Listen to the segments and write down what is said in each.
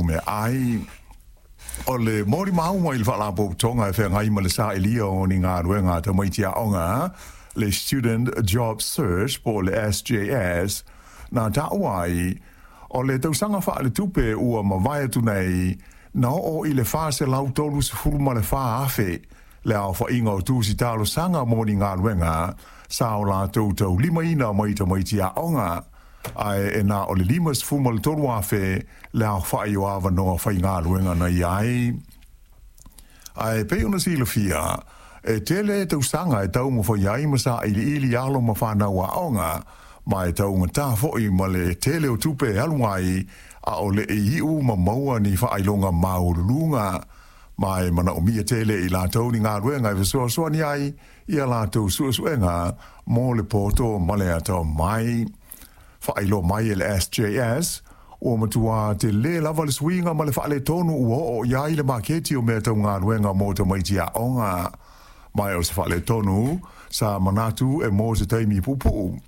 meaai. O le molimau i le Faalapotopotoga e feagai ma le sailia o ni galuega a tamaiti aoga, le Student Job Search po o le SJS, na taua ai, o le tausaga faaletupe ua mavae atu nei, na oo i le 434,000 le aofaiga o tusi talosaga mo ni galuega sa o latou taulimaina mai tamaiti aoga, ae e na o le 53,000 le aofai o avanoa faigaluega na i ai. Ae pei ona silafia, e tele tausaga e taumafai ai ma sailiili alo ma fanau aoga, ma e taugata foi ma le tele o tupe e alu ai a o le i iu ma maua ni faailoga maualuluga, ma e manaomia tele e i latou ni galuega e fesoasoani ai i a latou suesuega mo le poto ma le atamai. Faailoa mai e le SJS, ua matua tele lava le suiga ma le faaletonu ua oo i ai le maketi o mea tau galuega mo tamaiti aoga. Ma o se faaletonu sa manatu e mo se taimi puupuu.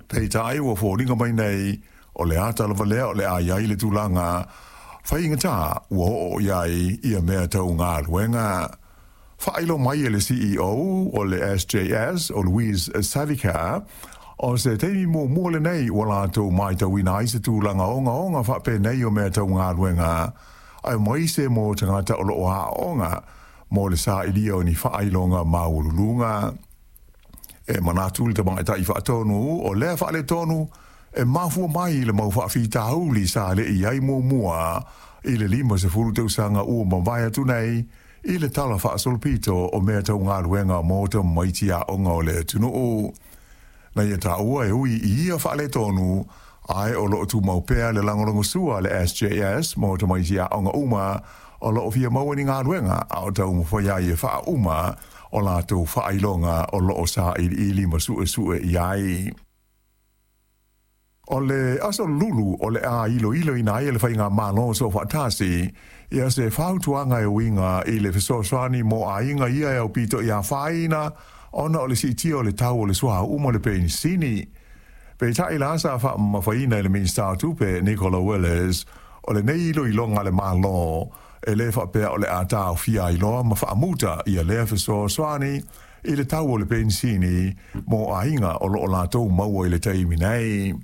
Peitai ua foliga mai nei, o le ata lava lea o le a i ai le tulaga faigata ua oo i ai ia mea tau galuega. Faailoa mai e le CEO o le SJS, o Louise Savica, o se taimi muamua lenei ua latou matauina ai se tulaga ogaoga faapenei o mea tau galuega, aemaise mo tagata o lo o aooga mo le sailia o ni faailoga maualuluga. E manatu le tamaitai faatonu o lea faaletonu e mafua mai i le mau faafitauli sa le i ai muamua i le 50 tausaga ua mavae atu nei i le tala faasolopito o mea tau galuega mo tamaiti aoga o le atunuu. Na ia taua e ui i ia faaletonu, ae o lo o tumau pea le lagolagosua a le SJS mo tamaiti aoga uma o lo o fia maua ni galuega a o taumafai ai e faauma o latou faailoga o lo o sailiili ma suesue i ai. O le aso Lulu o le a iloiloina ai e le Faigamalo Soofaatasi ia se fautuaga e uiga i le fesoasoani mo aiga ia e aupito i afaina ona o le siitia o le tau o le suauu ma le penisini. Peitai la sa faamamafaina e le Minisita o Tupe Nicola Willis, o lenei iloiloga a le Malo e le faapea o le a taofia ai loa ma faamuta ia lea fesoasoani i le tau o le penisini mo aiga o lo o latou maua i le taimi nei.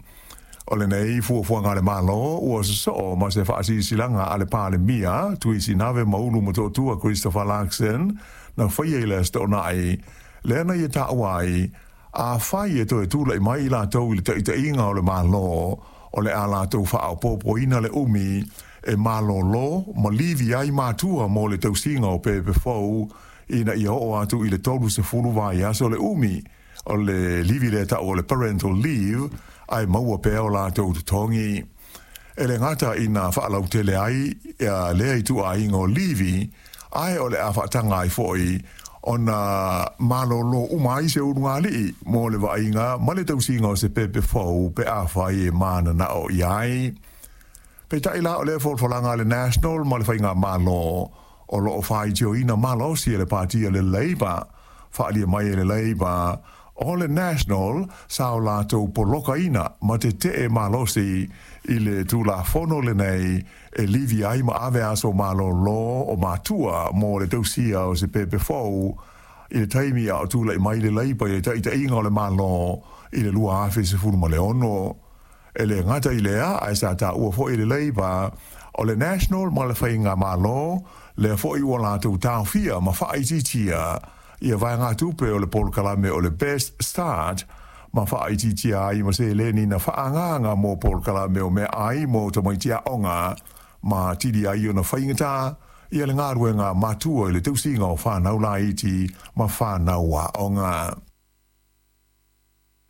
O lenei fuafuaga a le Malo ua sosoo ma se faasilasilaga a le Palemia Tuisinave Maulu Motootua Christopher Luxon na faia i le Aso Toonai, lea na ia taua ai, afai e toe tulai mai i latou i le taitaiga o le Malo, o le a latou faaopoopoina le umi e malolo ma livi ai matua mo le tausiga o pepe fou ina ia oo atu i le 30 vaiaso le umi o le livi lea ta'u o le parental leave ae maua pea o latou totogi. E le gata ina faalautele ai lea ituaiga o livi, ae o le a faataga ai foi ona malolo uma ai se ulugalii mo le vaaiga ma le tausiga o se pepe fou pe afai e mananao i ai. Peitai la o lea folafolaga a le National ma le Faigamalo o lo o faitioina malosi e le Pati a le Labour, faaalia mai e le Labour o le National sa o latou polokaina ma tetee malosi i le Tulafono lenei e livi ai ma ave aso malolo o matua mo le tausia o se pepe fou i le taimi a o tulai mai le Labour i le taitaiga o le Malo i le 2016. E le gata i lea, ae sa taua foi e le Labour o le National ma le Faigamalo lea foi ua latou taofia ma faaitiitia ia vaegatupe o le polokalame o le Best Start ma faaitiitia ai ma seleni na faaagaaga mo polokalame o meaai mo tamaiti aoga ma atili ai ona faigata ia le galuega a matua i le tausiga o fanau laiti ma fanau aoga.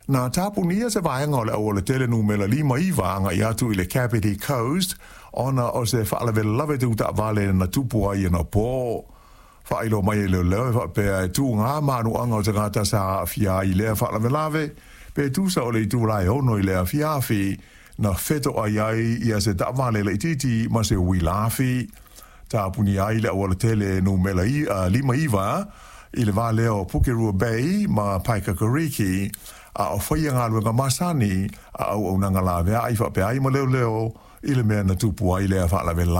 Na tapunia se vaega o le aualatele numera 59 agai atu i le Kapiti Coast ona o se faalavelave tau taavale na tupu ai anapo. Faailoa mai e leoleo e faapea e tuga manuaga o tagata sa aafia ai i lea faalavelave, pe tusa o le itula e 6 i le afiafi na fetoai ai ia se taavale laitiiti ma se uila afi. Tapunia ai le aualatele numera 59 i le va lea o Pukerua Bay ma Paikakariki, a o faia galuega masani a auaunaga laveai faapea ai ma leoleo i le mea na tupu ai lea faalavelave.